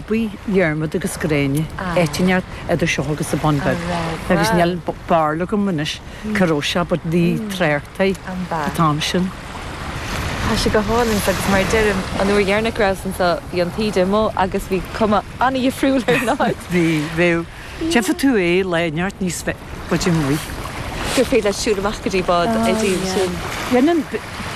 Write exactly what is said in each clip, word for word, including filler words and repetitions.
phubaí Dhiarmuid agus Gráinne, áit inteacht idir seo agus an Bun Beag. Agus níl Béarla agam anois cá raibh sé, but bhí trácht air an t-am sin. Tá sé go hálainn agus mar deirim an uair dheireanach go rabhas anseo bhí an taoide amuigh agus bhí cuma an-difriúil ar an áit. Bhí, bhí. Déanfaidh tú é lá neart níos faide amuigh. Gur féidir leat siúl amach go dtí bád ag díol sin. Dhéanann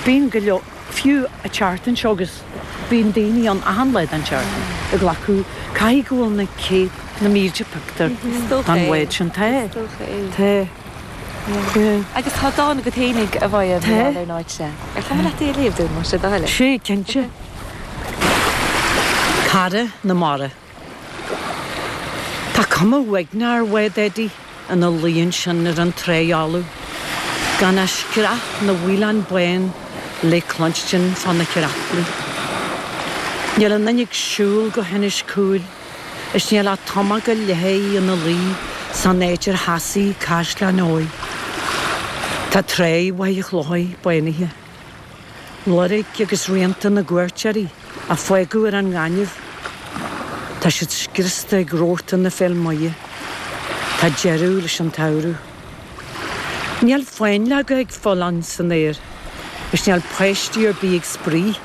bíonn go leor fiú an tseachtain seo agus bíonn daoine ann achan lá den tseachtain ag glacadh caithfidh go bhfuil na céad na mílte pictiúr den bhád sin. Tá. Tá. Agus tá dán agat fhéinig a Mháire ar an áit seo. Ar chuma leat é a léamh dúinn más é do thoil é? Sea, cinnte. Cara na Mara. Tá cuma uaigneach ar bhád Eddie ina luí ansin ar an tráigh fholamh, gan ach screach na bhfaoileán bán le cluinstin fá na creatlaí. Níl aon duine ag siúl go hInis Cúil is níl ach tamall go leith é ina luí san áit ar sheasaigh Caisleán Eoin. Tá tráigh Mhachaire Chlochair bánaithe. Loirg agus rianta na gcuairteoirí a fágadh ar an ngaineamh. Tá siad scriosta ag rabharta na feilméara. Tá deireadh leis an tsamhradh. Níl fáinleoga ag faoileán san aer is níl páistí ar bith ag spraoi.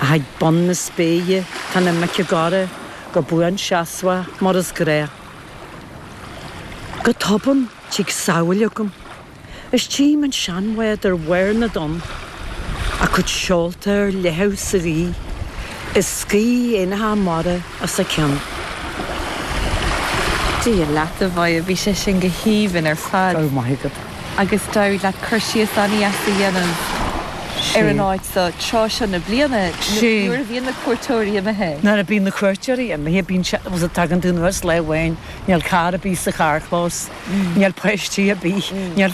Ach ag bun na spéire tá na mic ag gáire go buanseasmhach mar is gnách. Go tobann tig samhail agam. Is tchím an seanbhád ar bharr na dtonn, a cuid seolta ar leathadh sa ghaoth, is scaoth éanacha mara os a cionn. Dia leat a Mháire, bhí sé sin go haoibhinn ar fad. Go raibh maith agat. Agus d'éirigh leat cur síos an-dheas a dhéanamh ar an áit seo tráth seo na bliana nuair a bhíonn na cuairteoirí imithe. Nuair a bhíonn na cuairteoirí imithe bíonn sé was it tagann tú anuas lá amháin níl carr ar bith sa charrchlós, níl páistí ar bith, níl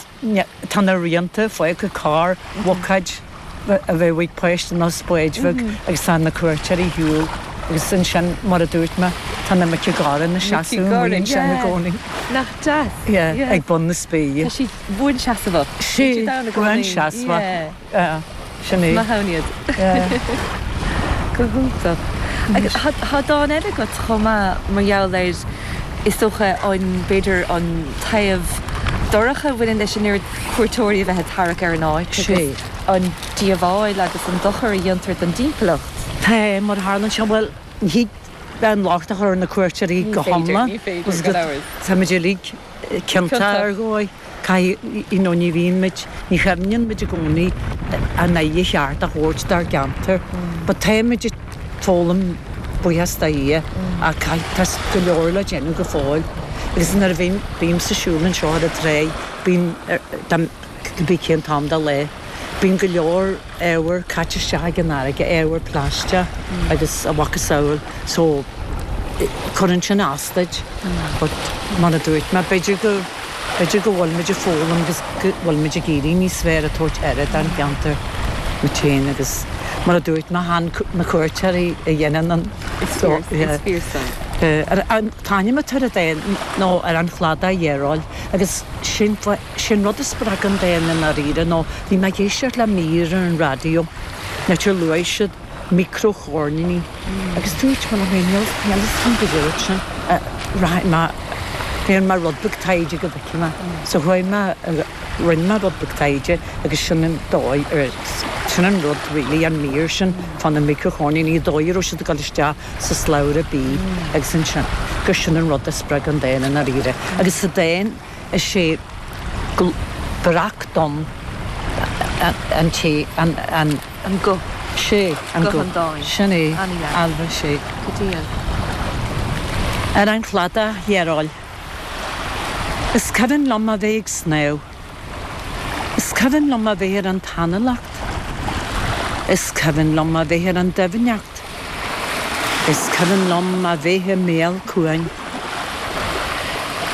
tá na rianta fágtha carr bhucáid a bheadh ag páiste nó spáid bheag agus tá na cuairteoirí ar shiúl agus ansin mar a dúirt mé tá na mic ag gáire ina seasamh amuigh ansin i gcónaí. Nach deas. Yeah, ag bun na spéire. Tá siad buanseasmhach. Sea, buanseasmhach. Yeah. Sin é. Maith ann iad. Go hiontach. Agus tá dán eile agat chomh maith mar gheall ar is dócha an b'fhéidir an taobh dorcha a bhaineann leis an oiread cuairteoirí a bheith ag tarrac ar an áit agus an díobháil agus an dochar a dhéantar don dtimpeallacht. Tá, mar a tharlaíonn sé, bhuel, ní thig an locht a chur ar na cuairteoirí go hiomlán. Ní féidir, gan amhras. Táimid uilig ciontach ar dhóigh. Caithfidh, you know, ní bhíonn muid, ní chuimhníonn muid i gcónaí an aire cheart a thabhairt dár gceantar. But táimid ag foghlaim buíochas do Dhia ach caithfidh, tá go leor le déanamh go fóill. Agus nuair a bhím, bímse ag siúl anseo ar an tráigh, bíonn, cibé cén t-am de lá, bíonn go leor ábhar caite isteach ag an fharraige, ábhar plaisteach agus a mhacasamhail so cuireann sin as duit. But mar a dúirt mé, b'fhéidir go, b'fhéidir go bhfuil muid ag foghlaim agus go bhfuil muid ag éirí níos fearr ag tabhairt aire don cheantar muid féin agus mar a dúirt mé, chan na cuairteoirí a dhéanann an Is fíor, is fíor san. An t-ainm atá ar an dán nó ar an chladach dhearóil agus sin sin rud a spreag an dán i ndáiríre nó bhí mé ag éisteacht le mír ar an raidió nuair a luaigh siad micreachoirníní agus dúirt mé liom féin níl níl fhios agam go dúirt sin rachaidh mé déanfaidh mé rud beag taighde go bhfeicfidh mé so chuaigh mé rinne mé rud beag taighde agus sin an dóigh ar sin an rud really an mír sin fá na micreachoirníní dóigh a raibh siad ag dul isteach sa slabhra bídh agus ansin gur sin an rud a spreag an dán i ndáiríre agus sa dán is é breac donn an té an an An guth. Sé an Guth guth. an dáin. Sin é An-dheas. Ailbhe sé. Go diail. Ar an chladach dhearóil. Is cuimhin liom a bheith ag snámh. Is cuimhin liom a bheith ar an tseanleacht. Is cuimhin liom a bheith ar an doimhneacht. Is cuimhin liom a bheith i mbéal cuain.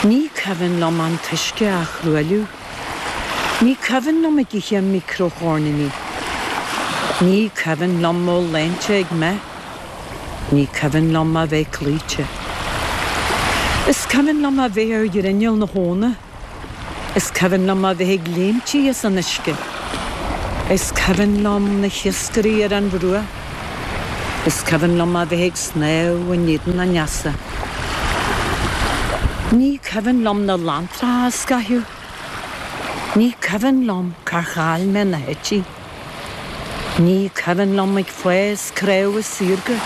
Ní cuimhin liom an t-uisce á thruailliú. Ní cuimhin liom ag ithe micreachoirníní. Ní cuimhin liom mo léinte ag meath. Ní cuimhin liom a bheith cloíte. Is cuimhin liom a bheith ar ghrinneall na habhna. Is cuimhin liom a bheith ag léimtí as an uisce. Is cuimhin liom na hiascairí ar an bhruach. Is cuimhin liom a bheith ag snámh in éadan an easa. Ní cuimhin liom na lanntracha a scaitheamh. Ní cuimhin liom cár chaill mé na heití. Ní cuimhin liom ag fás craobha saorga.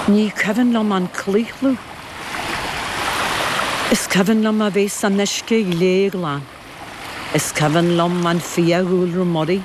Ní cuimhin liom an claochlú. Is cuimhin liom a bheith san uisce glé glan. Is cuimhin liom an fiadhúlra muirí.